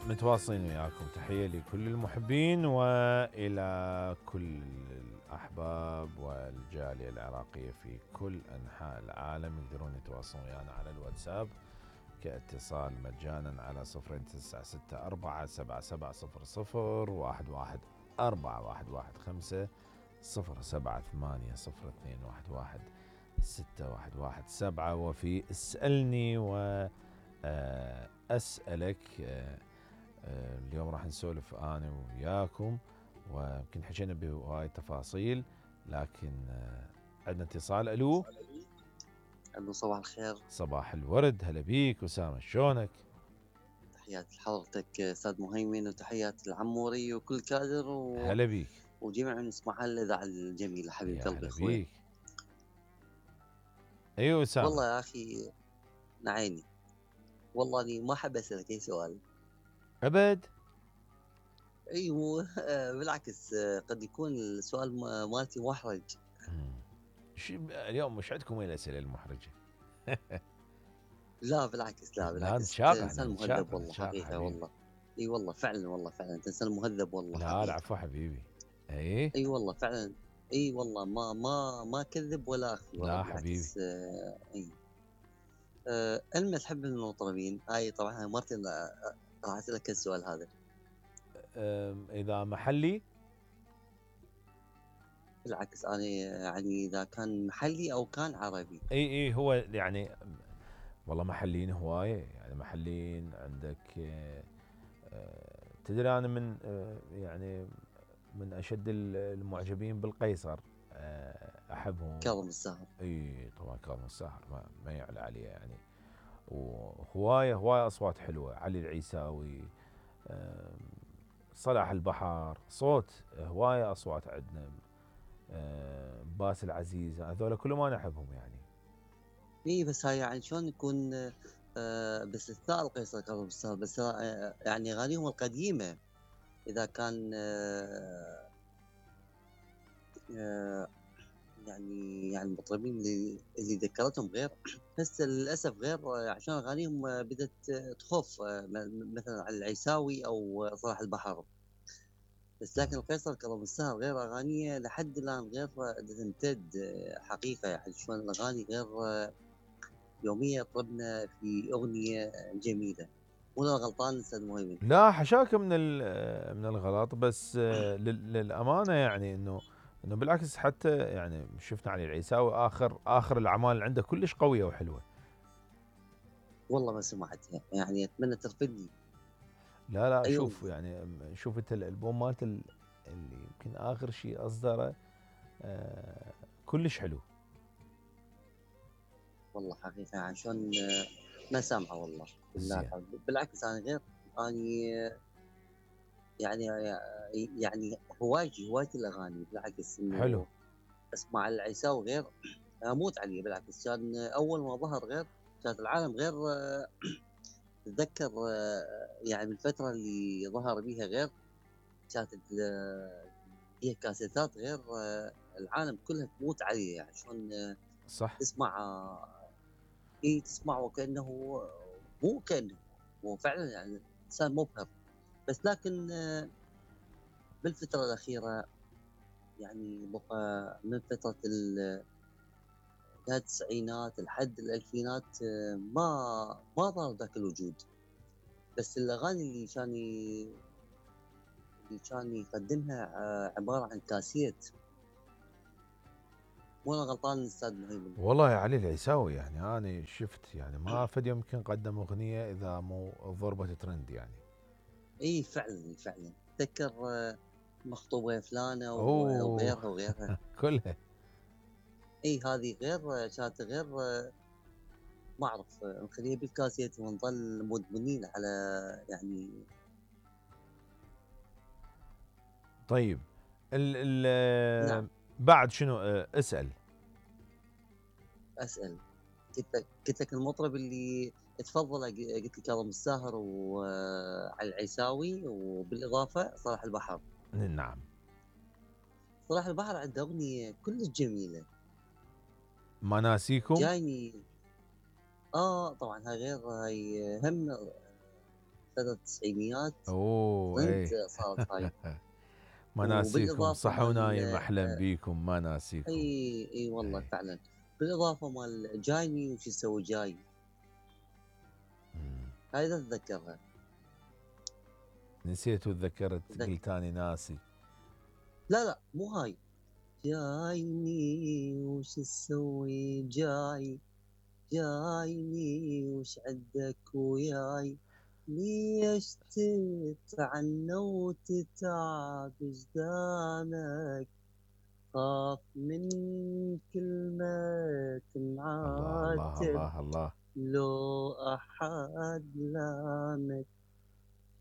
متواصلين وياكم. تحية لكل المحبين وإلى كل الأحباب والجالية العراقية في كل أنحاء العالم. يقدرون يتواصلون ويانا على الواتساب كاتصال مجانا على 0266447740 وفي اسألني وأسألك. اليوم راح نسولف أنا وياكم ويمكن حكينا بهواي تفاصيل، لكن عندنا اتصال. ألو صباح الخير. صباح الورد، هلا بيك أسامة، شلونك؟ تحياتي لحضرتك أستاذ مهيمن، وتحياتي لعموري وكل كادر هلا بيك وجميع من يسمعها الإذاعة الجميلة حبيب قلبي أخوي. بيك. أيوة أسامة. والله يا أخي نعيني، والله أني ما أحب أسألك أي سؤال أبد. أيوه بالعكس قد يكون السؤال مالتي محرج. اليوم مش عندكم وين الأسئلة المحرجة؟ لا بالعكس، لا بالعكس، إنسان مهذب والله حقيقة والله. اي والله فعلا، والله فعلا انت انسان مهذب والله. لا العفو حبيبي. اي والله فعلا، اي والله ما كذب ولا اخفي. لا حبيبي. اي المس تحب من المطربين؟ هاي طبعا مرتين راح اسالك السؤال هذا. اذا محلي بالعكس انا يعني اذا كان محلي او كان عربي. اي هو يعني والله محليين هوايه، يعني محليين عندك. تدري انا من يعني من اشد المعجبين بالقيصر، احبهم. كاظم الساهر. اي طبعا كاظم الساهر ما يعلى عليه يعني. وهوايه اصوات حلوه، علي العيساوي، صلاح البحر، صوت هوايه اصوات عندنا. باسل عزيز، هذول كلهم انا احبهم يعني. اي بس هاي يعني شلون يكون باستثناء القيصر كاظم الساهر، بس يعني اغانيهم القديمه اذا كان يعني المطربين اللي ذكرتهم غير، بس للاسف غير عشان اغانيهم بدات تخف مثلا على العيساوي او صلاح البحر. بس لكن القيصر كاظم الساهر غير اغانيه لحد الان غير تمتد حقيقه، يعني شلون الاغاني غير يوميا طلبنا في اغنيه جميله. ولا غلطان استاذ مهيمن؟ لا حشاك من الغلط، بس للامانه يعني انه بالعكس، حتى يعني شفنا علي العيساوي اخر الاعمال اللي عنده كلش قويه وحلوه. والله ما سمعتها، يعني اتمنى ترفدني. لا أيوة. شوف يعني شوف انت الالبوم مالته اللي يمكن اخر شيء اصدره كلش حلو. والله حقيقه يعني شلون ما سامعه والله. زين. بالعكس انا غير اني يعني هوايتي الاغاني. بالعكس انه حلو. اسمع العيساوي غير اموت عليه. بالعكس كان اول ما ظهر غير كانت العالم غير تتذكر يعني بالفتره اللي ظهر بيها غير كانت هي كاسيتات غير العالم كلها تموت عليه. يعني شلون صح. تسمع تسمع وكانه مو كانه هو فعلا يعني انسان مبهر. بس لكن بالفتره الاخيره يعني بقى من فتره التسعينات لحد الالفينات ما ظهر ذاك الوجود. بس الاغاني اللي كان يقدمها عباره عن كاسيت. مو انا غلطان استاذ مهيمن؟ والله يا علي العيساوي يعني انا شفت يعني ما فد يمكن قدم اغنيه اذا مو ضربه ترند يعني. اي فعلا فعلا تذكر مخطوبه فلانه اوه وغيرها كلها. اي هذه غير كانت غير ما اعرف نخليها بالكاسيت ونظل مدمنين على يعني. طيب نعم. بعد شنو اسال. قلت لك المطرب اللي تفضل قلت لك كاظم الساهر وعلي العيساوي وبالاضافه صلاح البحر. نعم. صلاح البحر عنده اغنيه كلش جميله، ما ناسيكم. جايني. طبعا هاي غير هاي هم فتره التسعينيات اوه ترند ايه. صارت هاي. ما ناسيكم، وبالاضافه صح مال ونايم احلم بيكم، ما ناسيكم. اي والله ايه. فعلا. بالاضافه مال جايني وش يسوي جاي، مم. هاي اذا اتذكرها. نسيت وتذكرت، ذك... قلت اني ناسي. لا لا مو هاي. جايني وش تسوي جاي، جايني وش عندك وياي، ليش تتعنى وتتعب جدانك، خاف من كلمة الله الله تنعاتب الله الله. لو أحد لامك.